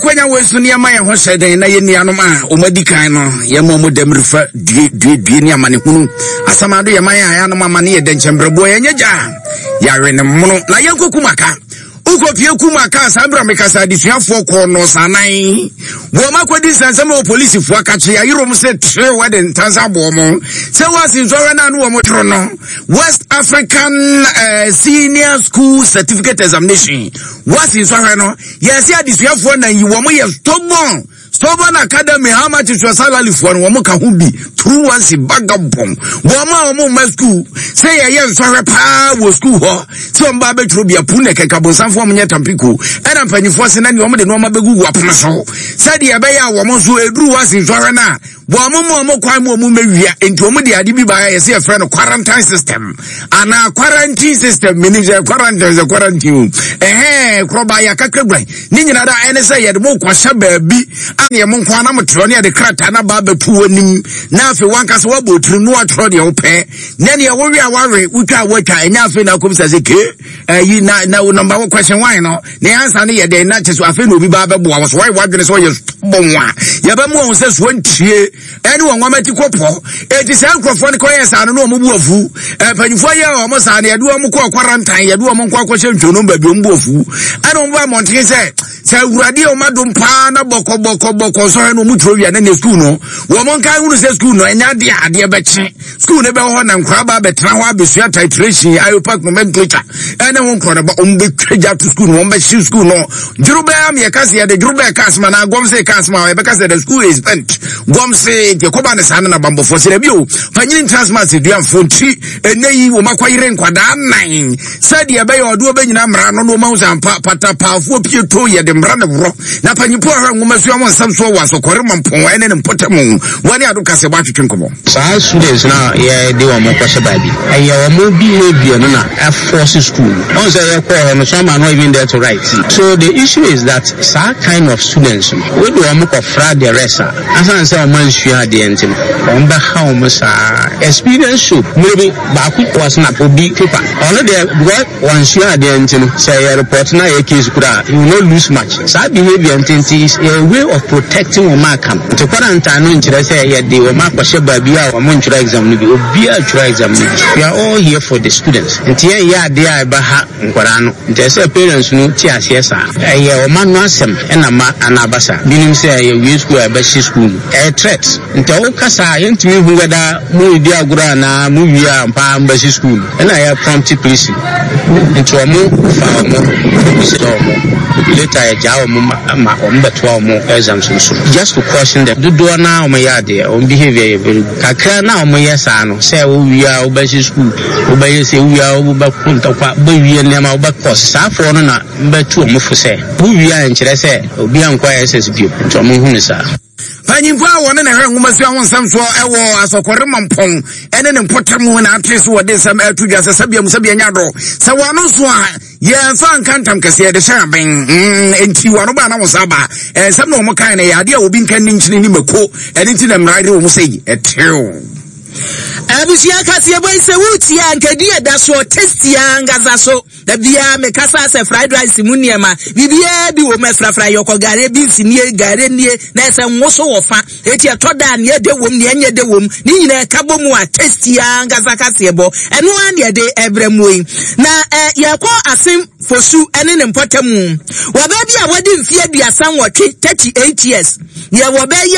akwanya wei so ne yɛma yɛn ho hyɛ den na yɛn nuanom a wɔn adi kan no yɛma wɔn dɛm refa due due due ne amanehunu asamado yɛma yɛn a yɛanom amane yɛ dɛnkyɛmbrɛboɔ yɛnyɛ gya yɛawe ne mmono na yɛnkɔkum aka wokɔpie kum aka saa berɛ a mekasa adesuafoɔ kɔɔ nɔɔsanan wɔn akɔdi nsɛnsɛm wɔ polisifoɔ akakye ayerom sɛ terew de ntansa aboɔ mo sɛ wɔasi nsɔhwɛ no a ne wɔn toro no West African Senior School Certificate Examination wɔasi nsɔhwɛ no yɛsi adesuafoɔ na yi wɔn yɛ stubborn stubborn academy how much is your salary foɔ no wɔn ka ho bi truancy vagabond wɔn a wɔn mma school sɛ yɛyɛ nsɔhwɛ paa wɔ school hɔ sɛ wɔn ba abɛtwerɛ bi apu na kɛkɛ abonsamfoɔ wɔn nyɛ tampiko ɛna mpanyinfoɔ sɛ na nea wɔn de nneɛma bɛgugu apono so sɛdeɛ ɛbɛyɛ a wɔn nso eduru hɔ asi nsɔhwɛ no a Wɔn mo wɔn kwan mu wɔn mɛwia nti wɔn de ade bi baeɛ yɛsɛ yɛfrɛ no quarantine system anaa quarantine system menim sɛ quarantine sɛ quarantine o ɛhɛn korɔba yɛ akakra guan ne nyinaa da ɛne sɛ yɛde mo kɔhyɛ baabi a yɛ mo nko anam twerɛ ne yɛde krataa na ba abɛto wɔn anim na afei wankasa wabɔ tirim na watwerɛ deɛ wopɛ na deɛ wowe a wawe wotwa a watwa ɛnyɛ afei na akɔm sɛ sɛ kee ɛyi na na number one question one no ne ansa no yɛ dɛn na kyɛ so afei na obi ba bɛboa wo so wɔyɛ wadwene sɛ ɔyɛ bɔn a yɛbɛmu wɔn sɛ soɔ ntie ɛne wɔn nwoma ti kɔpɔ eti saa nkurɔfoɔ no kɔyɛ saa no na wɔn bu afu mpanyinfoɔ yɛ wɔn saa no yɛde wɔn kɔ quarantine yɛde wɔn nkɔ akɔhyɛ ntwonum baabi wɔn bu afu ɛna wɔn ba mmɔnten sɛ sɛ awurade a wɔn adom paa na bɔkɔ bɔkɔ bɔkɔ nsɔhwɛ no wɔn turo wia na ne sukuu no wɔn nka ehunu sɛ sukuu no ɛnyɛ adeɛ adeɛ bɛkye Sukuu no bɛwɔ hɔ na nkwadaa ba abɛtena hɔ abɛsua titration, IUPAC nomenclature ɛne ho nkorɔ no ba wɔn bɛtwa gya to sukuu no wɔn bɛhye sukuu no dworobɛɛ ama yɛka sɛ yɛde dworobɛɛ ka asɛm anaa gɔm se ka asɛm a yɛbɛka sɛ the school is bent gɔm se nti ɛkɔba ne saa no na bambɔfoɔ sɛ dabi o panyini ntena asɛm ase duamfoɔ nti ɛnɛ yi wɔn akɔyere nkwadaa nan sɛdeɛ ɛbɛyɛ ɔde wɔbɛnyina mmara no na wɔn ahu sɛ ampa patapaafoɔ pie to yɛde mmara ne worɔ na panyimfoɔ ahwɛ nwoma sua wɔn nsɛm soɔ wɔ asɔkɔre mampɔn ɛne ne mpɔtam wɔne ado kasɛ bɔ atwetwe nkɔmmɔ. Saa students no a yɛde wɔn kɔhyɛ baabi, ɛyɛ wɔn behaviour no na ɛforce school no. Wohu sɛ yɛkɔɔ hɔ no, some are not even there to write. So the issue is that saa kind of students no, wode wɔn kɔfra the rest a, asan sɛ wɔn ansua adeɛ nti no, wɔn bɛha wɔn saa. Experience show, mmerɛ bi baako wɔsnap obi paper, ɔno deɛ because wansua adeɛ nti no, sɛ yɛ report no ayɛ case koraa a, he will not lose much. Saa behaviour nti nti is a way of protecting wɔn aka no. Nti quarantine no nkyerɛ sɛ yɛde wɔn akɔhyɛ baabi a wɔn ntwerɛ exam no bi. Obiara twerɛ exam no bi. We are all here for the students. Nti yɛnyɛ adeɛ a ɛbɛha nkwadaa no. Nti ɛsɛ sɛ parents no te aseɛ saa. Ɛyɛ wɔn ano asɛm na ma ana aba saa. Binom sɛ yɛwie school a yɛbɛhye school no. Ɛyɛ threat. Nti woka saa a yɛntumi nhu whether moredi agorɔ anaa mowie a ampa ara mobɛhye school no. Ɛna yɛ prompt police no nti ɔmo fa ɔmo bisa ɔmo later yɛ gyaa ɔmo ma ɔmo bɛtoa ɔmo exams no so just to caution them dodoɔ naa ɔmo yɛ adeɛ ɔmo behaviour yɛ very good kakra na ɔmo yɛ saa no sɛ wo wie a wobɛhye school wobɛyɛ sɛ wo wie a wobɛko ntɔkwa wobɛwie nneɛma wobɛkɔ saa foɔ no na mbɛtu ɔmo fo sɛ wo wie a nkyerɛ sɛ obi ankɔ SS bio nti ɔmo hu no saa. Mpanyimfo a wɔne na ɛhwɛ nwomasua ho nsɛm soɔ wɔ asɔkɔre mampɔn ne ne mpɔtam na ate so wɔde nsɛm ɛto dwa sɛ sɛbea mu sɛbea nya dɔ sɛ wɔn ano so a yɛmfa nka ntam kɛseɛ de hyɛ aben mm, nti wɔn ano ba na wɔn sa ba nsɛm na wɔn kan no yɛ adeɛ a obi nka ne nkyini ne mako ɛne nti na mmara de wɔn sɛ ɛtew. Abusua kaseɛbɔ yi sɛ wotie a nkadi ɛda soɔ tasty ankasa so. Da biara me kasa sɛ fried rice mu nneɛma biribiara bi wɔ mu ɛfrafra yɔkɔ gare beans nie gare nie na ɛsɛ ngo so wɔ fa eti ɛtɔ da a nea ɛdɛ wom nea ɛnyɛ dɛ wom ne nyinaa ɛka bɔ mu a tasty ankasa kaseɛ bɔ ɛno ara na yɛde ɛbrɛ mu yi na ɛ yɛkɔ asem fosu ɛne ne mpɔtamu wɔ baabi a wɔde mfeɛ 38, 38 years yɛ wɔ bɛyɛ.